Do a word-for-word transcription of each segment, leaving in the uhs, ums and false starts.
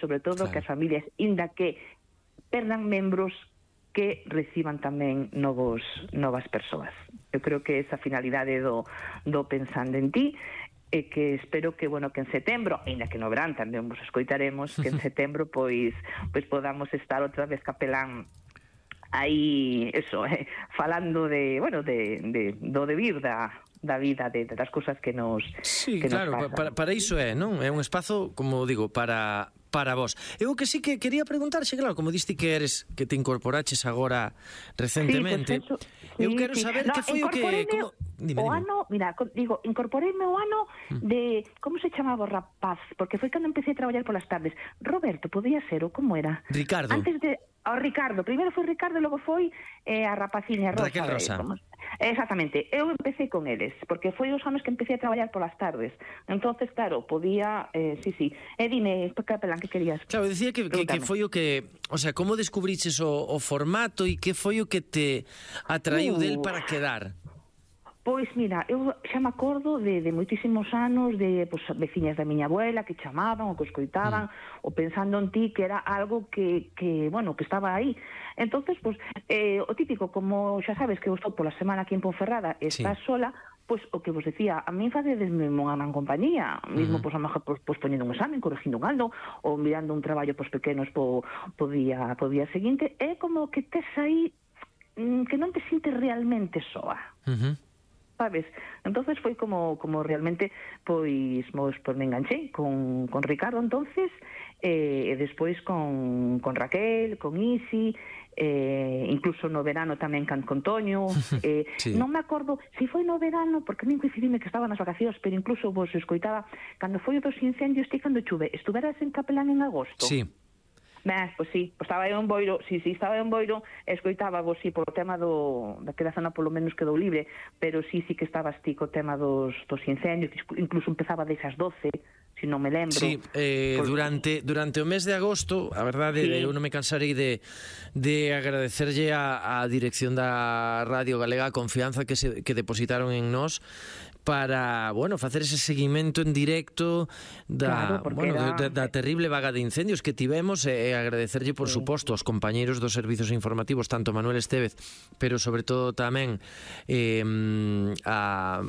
sobre todo, claro, que as familias, inda que perdan membros, que reciban tamén novos novas persoas. Eu creo que esa finalidade do, do Pensando en Ti, e que espero que, bueno, que en setembro, ainda que no verán tamén vos escoitaremos, que en setembro pois pois podamos estar outra vez capelán aí, eso, eh, falando de, bueno, de, de do debir da da vida, de, de das cousas que nos sí, que claro, nos pasan. para, para iso é, non? É un espazo, como digo, para para vos. Eu que sí que quería preguntarxe, claro, como diste que eres que te incorporaches agora recentemente. Sí, pues eso, sí, eu quero sí. saber No, que foi o que como... dime, o dime. ano, mira, digo, incorporeime o ano de, como se chamaba o rapaz? Porque foi cando empecé a traballar polas tardes. Roberto, podía ser, ou como era? Ricardo. Antes de ao Ricardo, primeiro foi Ricardo e logo foi eh, a rapaciña Rosa. Raquel Rosa. Eh, como... Exactamente, eu empecé con eles, porque foi os anos que empecé a traballar polas tardes. Entonces, claro, podía, eh, sí, sí. E dime, capelán, que querías? Claro, decía que, que, que foi o que, o sea, como descubriches o, o formato e que foi o que te atraíu uh. del para quedar? Pois mira, eu xa me acordo de, de moitísimos anos de pues, veciñas da miña abuela que chamaban ou que escoitaban mm. ou Pensando en Ti, que era algo que, que bueno, que estaba aí. Entonces, pues, eh, o típico, como xa sabes que eu estou pola semana aquí en Ponferrada e estás sí. sola, pois pues, o que vos decía, a mí facedesme unha gran compañía, mesmo, pois, uh -huh. pues, pues, poñendo un examen, corrigindo un algo, ou mirando un traballo pos pequenos po, po, día, po día seguinte, é como que tes aí mm, que non te sintes realmente soa. Uh -huh. Sabes? Entonces foi como como realmente pois mos pois me enganché con con Ricardo entonces eh, e despois con con Raquel, con Isi, eh, incluso no verano tamén can con Toño, eh, sí. non me acordo se si foi no verano, porque a mí coincidime que estaba nas vacacións, pero incluso vos escoitaba cando foi o dos incendios, ti cando chuve, estuveras en Capelán en agosto. Sí. Ben, pois sí, pois estaba eu en Boiro, si, si, estaba eu en Boiro, escoitaba vos, si, polo tema do, daquela zona polo menos quedou libre, pero si, si que estabas ti co tema dos, dos incendios, incluso empezaba desas doce, si non me lembro. Sí, eh, por... durante durante o mes de agosto, a verdade, sí. eu non me cansarei de, de agradecerlle a, a dirección da Radio Galega a confianza que, se, que depositaron en nós para, bueno, facer ese seguimento en directo da, claro, bueno, era... da, da terrible vaga de incendios que tivemos e agradecerlle, por sí. suposto, aos compañeiros dos servizos informativos, tanto Manuel Estévez, pero sobre todo tamén eh, a...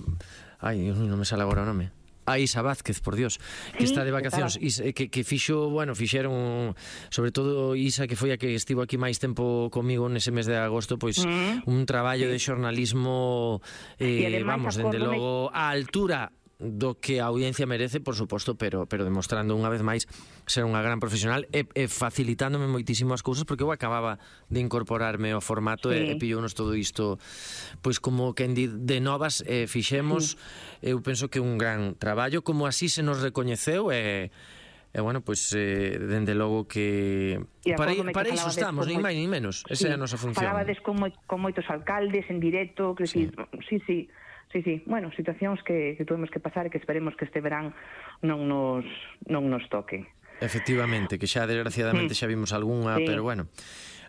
Ai, non me sale agora o nome. A Isa Vázquez, por Dios, que sí, está de vacacións, que, que fixo, bueno, fixeron, sobre todo Isa, que foi a que estivo aquí máis tempo comigo nese mes de agosto, pois mm. un traballo sí. de xornalismo, eh, además, vamos, dende logo, a altura do que a audiencia merece, por suposto, pero pero demostrando unha vez máis ser unha gran profesional e, e facilitándome moitísimo as cousas, porque eu acababa de incorporarme ao formato sí. e, e pillounos todo isto pois como que de, de novas eh, fixemos, sí. eu penso que un gran traballo, como así se nos recoñeceu e E, bueno, pois, eh, dende logo que... Para, para iso estamos, nin máis nin menos. Esa sí, é a nosa función. Falabades con, moi, con moitos alcaldes en directo, que sí, sí, sí. Sí, sí, bueno, situacións que, que tuvemos que pasar e que esperemos que este verán non nos, non nos toque. Efectivamente, que xa desgraciadamente xa vimos algunha, sí. pero bueno...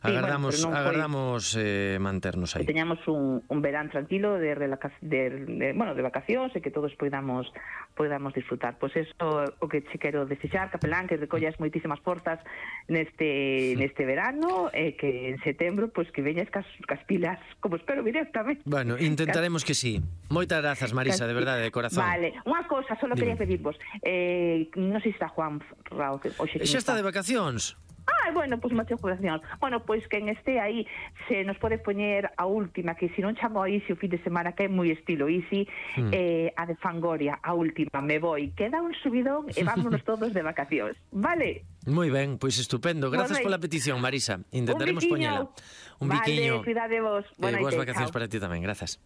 Agardamos, sí, bueno, agardamos eh, manternos aí. Que teñamos un, un verán tranquilo de, relaca, de, de, bueno, de vacacións e que todos podamos podamos disfrutar. Pois pues eso o que che quero desexar, capelán, que recollas moitísimas portas neste neste verano e que en setembro pois pues, que veñas cas, cas pilas, como espero directamente. Bueno, intentaremos cas... que sí. Moitas grazas, Marisa, cas... de verdade, de corazón. Vale, unha cousa, só quería pedirvos. Eh, non sei se está Juan Rao, que hoxe xa está de vacacións. Ah, bueno, pois pues, moitas gracias. Bueno, pois pues, quen este aí se nos pode poñer a última, que se non chamo a Isi o fin de semana, que é moi estilo Isi, mm. eh, a de Fangoria, a última, me voi. Queda un subidón e vámonos todos de vacacións. Vale? Moi ben, pois pues estupendo. Gracias pola petición, Marisa. Intentaremos poñela. Un biquiño. Vale, cuidade vos. Eh, boas vacacións para ti tamén, grazas.